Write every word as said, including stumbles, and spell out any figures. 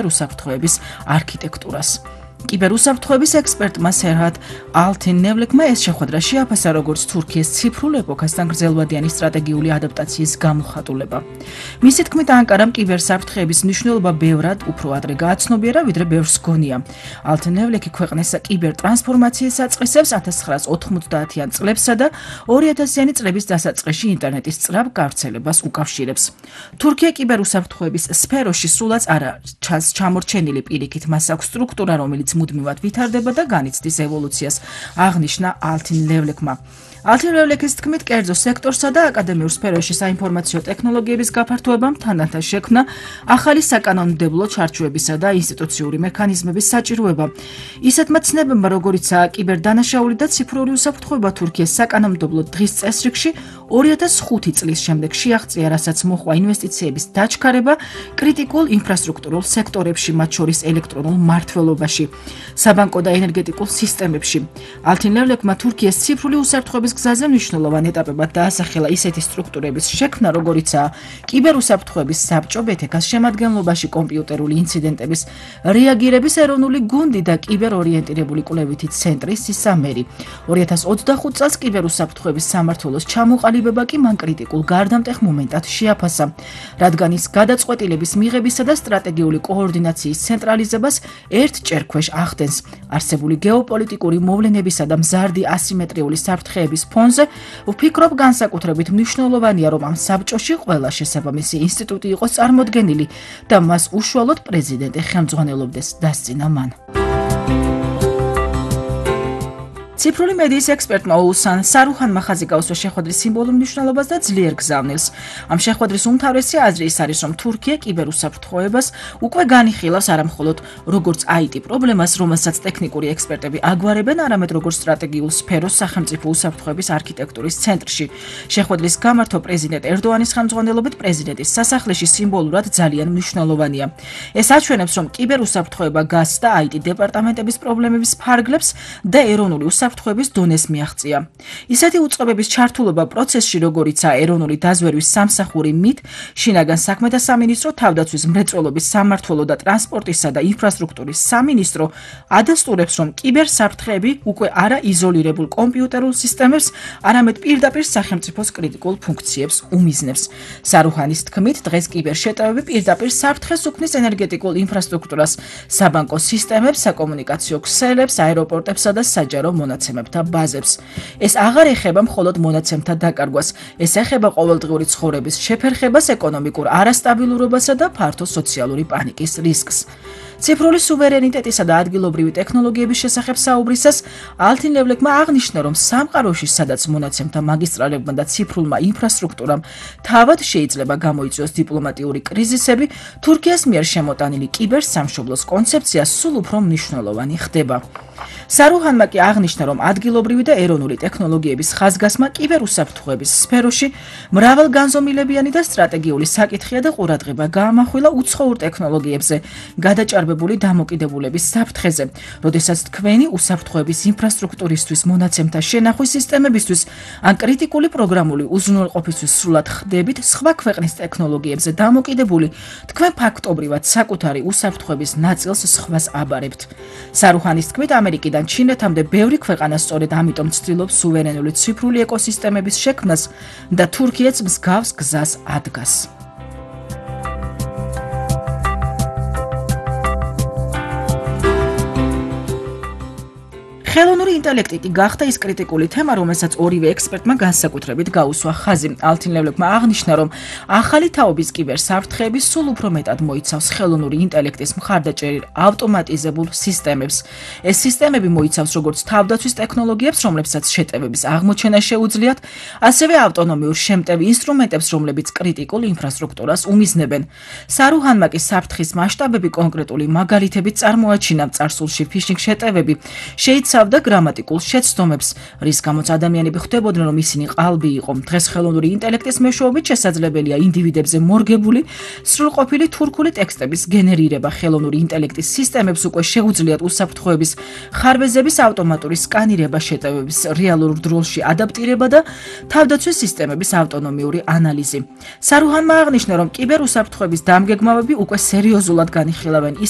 უსაფრთხოების არქიტექტურას. კიბერუსაფრთხოების ექსპერტმა სერჰად ალთინ-ნევლეკმა ეს შეხვედრა შეაფასა როგორც თურქიის ციფრულ ეპოქასთან გრძელვადიანი სტრატეგიული ადაპტაციის გამოხატულება. მისი თქმით, ანკარამ კიბერსაფრთხეების მნიშვნელობა ბევრად უფრო ადრე გააცნობიერა, ვიდრე ბევრს გონია. ალთინ-ნევლეკი ქვეყნის კიბერტრანსფორმაციის აწყისებს ათას ცხრაას ოთხმოცდაათიან წლებსა და ორი ათასიანი წლების დასაწყისში ინტერნეტის სწრაფ გავრცელებას უკავშირებს. თურქია კიბერუსაფრთხოების სფეროში სულაც არა ჩანს ჩამორჩენილი პირიქით, მას აქვს სტრუქტურა, რომელიც მუდმივად ვითარდება და განიცდის ევოლუციას, აღნიშნა ალთინ-ნევლეკმა. ალთინ-ნევლეკის თქმით, კერძო სექტორსა და აკადემიურ სფეროში საინფორმაციო ტექნოლოგიების გაფართოებამ თანდათან შექმნა ახალი საკანონმდებლო ჩარჩოებისა და ინსტიტუციური მექანიზმების საჭიროება. ისეთმა ცნებებმა, როგორიცაა კიბერდანაშაული და ციფრული უსაფრთხოება თურქიის საკანონმდებლო დღის წესრიგში ორი ათას ხუთი წლის შემდეგ შეაღწია, რასაც მოჰყვა ინვესტიციების დაჩქარება კრიტიკულ ინფრასტრუქტურულ სექტორებში, მათ შორის ელექტრონულ მმართველობაში, საბანკო და ენერგეტიკულ სისტემებში. ალთინ-ნევლეკმა თურქიის ციფრული უსაფრთხოების გზაზე მნიშვნელოვან ეტაპებად დაასახელა ისეთი სტრუქტურების შექმნა, როგორიცაა კიბერუსაფრთხოების საბჭო, ბე თე ქას შემადგენლობაში კომპიუტერული ინციდენტების რეაგირების ეროვნული გუნდი და კიბერორიენტირებული კვლევითი ცენტრი სისამერი. ორი ათას ოცდახუთ წელს კიბერუსაფრთხოების სამმართველოს ჩამოყალიბება კი მან კრიტიკულ გარდამტეხ მომენტად შეაფასა, რადგან ის გადაწყვეტილების მიღებისა და სტრატეგიული კოორდინაციის ცენტრალიზებას ერთ ჭერქვეშ ახდენს. არსებული გეოპოლიტიკური მოვლენებისა და მზარდი ასიმეტრიული საფრთხეების ფონზე ვფიქრობ, განსაკუთრებით მნიშვნელოვანია, რომ ამ საბჭოში ყველა შესაბამისი ინსტიტუტი იყოს წარმოდგენილი და მას უშუალოდ პრეზიდენტი ხელმძღვანელობდეს, დასძინა მან. ციფრული მედიის ექსპერტმა ოუსან სარუჰანმა ხაზი გაუსვა შეხვედრის სიმბოლურ მნიშვნელობას და ძლიერ გზავნილს. ამ შეხვედრის უმთავრესი აზრი ის არის, რომ თურქია კიბერუსაფრთხოებას უკვე განიხილავს არამხოლოდ როგორც აი ტი პრობლემას, რომელსაც ტექნიკური ექსპერტები აგვარებენ, არამედ როგორც სტრატეგიულ სფეროს სახელმწიფო უსაფრთხოების არქიტექტურის ცენტრში. შეხვედრის გამართვა პრეზიდენტ ერდოანის ხელმძღვანელობით პრეზიდენტის სასახლეში სიმბოლურად ძალიან მნიშვნელოვანია. ეს აჩვენებს, რომ კიბერუსაფრთხოება გასს და აი ტი დეპარტამენტების პრობლემების ფარგლებს და ეროვნული უსაფრთხოების დონეს მიაღწია. ისეთი უწყებების ჩართულობა პროცესში, როგორიცაა ეროვნული დაზვერვის სამსახური მით, შინაგან საქმეთა სამინისტრო, თავდაცვის მრეწველობის სამმართველო და ტრანსპორტისა და ინფრასტრუქტურის სამინისტრო ადასტურებს, რომ კიბერსაფრთხეები უკვე არა იზოლირებულ კომპიუტერულ სისტემებს, არამედ პირდაპირ სახელმწიფოს კრიტიკულ ფუნქციებს უმიზნებს. სარუჰანის თქმით, დღეს კიბერშეტევები პირდაპირ საფრთხეს უქმნის ენერგეტიკულ ინფრასტრუქტურას, საბანკო სისტემებს, საკომუნიკაციო ქსელებს, აეროპორტებსა და საჯარო მონაცემებთა ბაზებს. ეს აღარ ეხება მხოლოდ მონაცემთა დაკარგვას, ეს ეხება ყოველდღიური ცხოვრების შეფერხებას, ეკონომიკურ არასტაბილურობასა და ფართო სოციალური პანიკის რისკს. ციფრული სუვერენიტეტისა და ადგილობრივი ტექნოლოგიების შესახებ საუბრისას ალთინ-ნევლეკმა აღნიშნა, რომ სამყაროში, სადაც მონაცემთა მაგისტრალებმა და ციფრულმა ინფრასტრუქტურამ თავად შეიძლება გამოიწვიოს დიპლომატიური კრიზისები, თურქიას მიერ შემოტანილი კიბერსამშობლოს კონცეფცია სულ უფრო მნიშვნელოვანი ხდება. სარუჰანმა კი აღნიშნა, რომ ადგილობრივი და ეროვნული ტექნოლოგიების ხაზგასმა კიბერუსაფრთხოების სფეროში მრავალგანზომილებიანი და სტრატეგიული საკითხია და ყურადღება გაამახვილა უცხოურ ტექნოლოგიებზე, გადაჭარბებული დამოკიდებულების საფრთხეზე, როდესაც თქვენი უსაფრთხოების ინფრასტრუქტურისთვის, მონაცემთა შენახვის სისტემებისთვის ან კრიტიკული პროგრამული უზრუნველყოფისთვის სრულად ხდებით სხვა ქვეყნის ტექნოლოგიებზე დამოკიდებული, თქვენ ფაქტობრივად საკუთარი უსაფრთხოების ნაწილს სხვას აბარებთ. სარუჰანის თქმით, ამერიკიდან ჩინეთამდე ბევრი ქვეყანა სწორედ ამიტომ ცდილობს სუვერენული ციფრული ეკოსისტემების შექმნას და თურქიაც მსგავს გზას ადგას. ხელოვნური ინტელექტი კი გახდა ის კრიტიკული თემა, რომელსაც ორივე ექსპერტმა განსაკუთრებით გაუსვა ხაზი. ალთინ-ნევლეკმა აღნიშნა, რომ ახალი თაობის კიბერსაფრთხეები სულ უფრო მეტად მოიცავს ხელოვნური ინტელექტის მხარდაჭერილ ავტომატიზებულ სისტემებს. ეს სისტემები მოიცავს როგორც თავდაცვის ტექნოლოგიებს, რომლებსაც შეტევების აღმოჩენა შეუძლიათ, ასევე ავტონომიურ შემტევ ინსტრუმენტებს, რომლებიც კრიტიკულ ინფრასტრუქტურას უმიზნებენ. სარუჰანმა კი საფრთხის მასშტაბები კონკრეტული მაგალითებით წარმოაჩინა. წარსულში ფიშინგ შეტევები შეიცავდა და გრამატიკულ შეცდომებს, რის გამოც ადამიანები ხვდებოდნენ, რომ ისინი ყალბი იყო. დღეს ხელოვნური ინტელექტის მეშვეობით შესაძლებელია ინდივიდებზე მორგებული სრულყოფილი თურქული ტექსტების გენერირება. ხელოვნური ინტელექტის სისტემებს უკვე შეუძლიათ უსაფრთხოების ხარბეზების ავტომატური სკანირება, შეტევების რეალურ დროში ადაპტირება და თავდაცვის სისტემების ავტონომიური ანალიზი. სარუჰანმა აღნიშნა, რომ კიბერუსაფრთხოების დამგეგმავები უკვე სერიოზულად განიხილავენ